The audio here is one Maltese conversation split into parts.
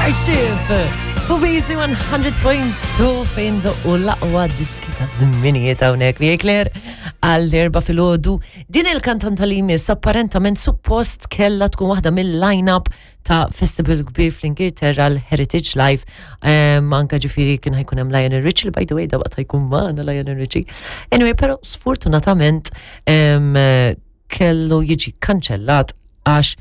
Starship! Fuq BC 100.2 fejn doqqu l-aqwa diski ta' żminijiet hawnhekk li Claire għall-erba' filgħodu. Din il-kantanta li jmiss apparentament suppost kellha tkun waħda mill-line-up ta' festival kbir fl-Ingilterra l-Heritage Live. Um, anka ġifiri kien ħajkun hemm Lionel Richie, by the way, da waqt ħajkun magħna Lionel Richie. Anyway, però sfortunatament um, kellu jiġi kanċellat għax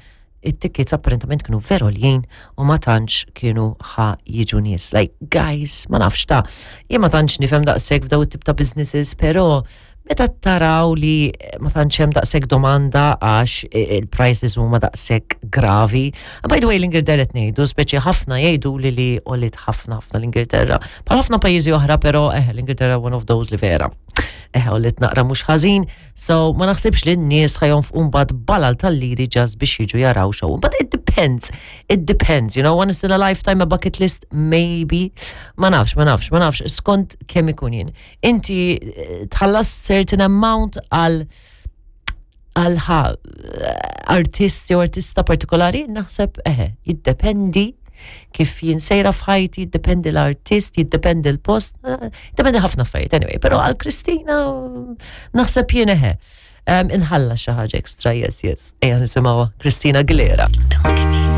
it-tickets apparentament kienu veru għoljin u ma tantx kienu ħa jiġu nies. Like, guys, ma nafx ta' jien ma tantx nifhem daqshekk f'daw it-tip ta' businesses, però meta taraw li ma tantx hemm daqshekk domanda għax il-prices huma daqshekk gravi. And by the way, l-Ingilterra qed ngħidu, speċi ħafna jgħidu li li għolit ħafna ħafna l-Ingilterra. Bħal ħafna pajjiżi oħra, però eh, l-Ingilterra one of those li vera. Eh, għolit naqra mhux ħażin, So, ma naħsibx li n-nies ħajonfqu mbagħad balal tal-liri just biex jiġu jaraw show. But it depends. It depends, you know, once in a lifetime a bucket list, maybe. Ma nafx, ma nafx, ma nafx, skont kemm ikun jien. Inti eh, tħallas certain amount għal għal eh, artist jew artista partikolari, naħseb eħe, jiddependi kif jien sejra f'ħajti, jiddependi l-artist, jiddependi l-post, eh, jiddependi ħafna affarijiet anyway, però għal Kristina naħseb jien eħe. Inħalla xi ħaġa extra, yes, yes. Ejja nisimgħuha Kristina Aguilera. Don't look at me.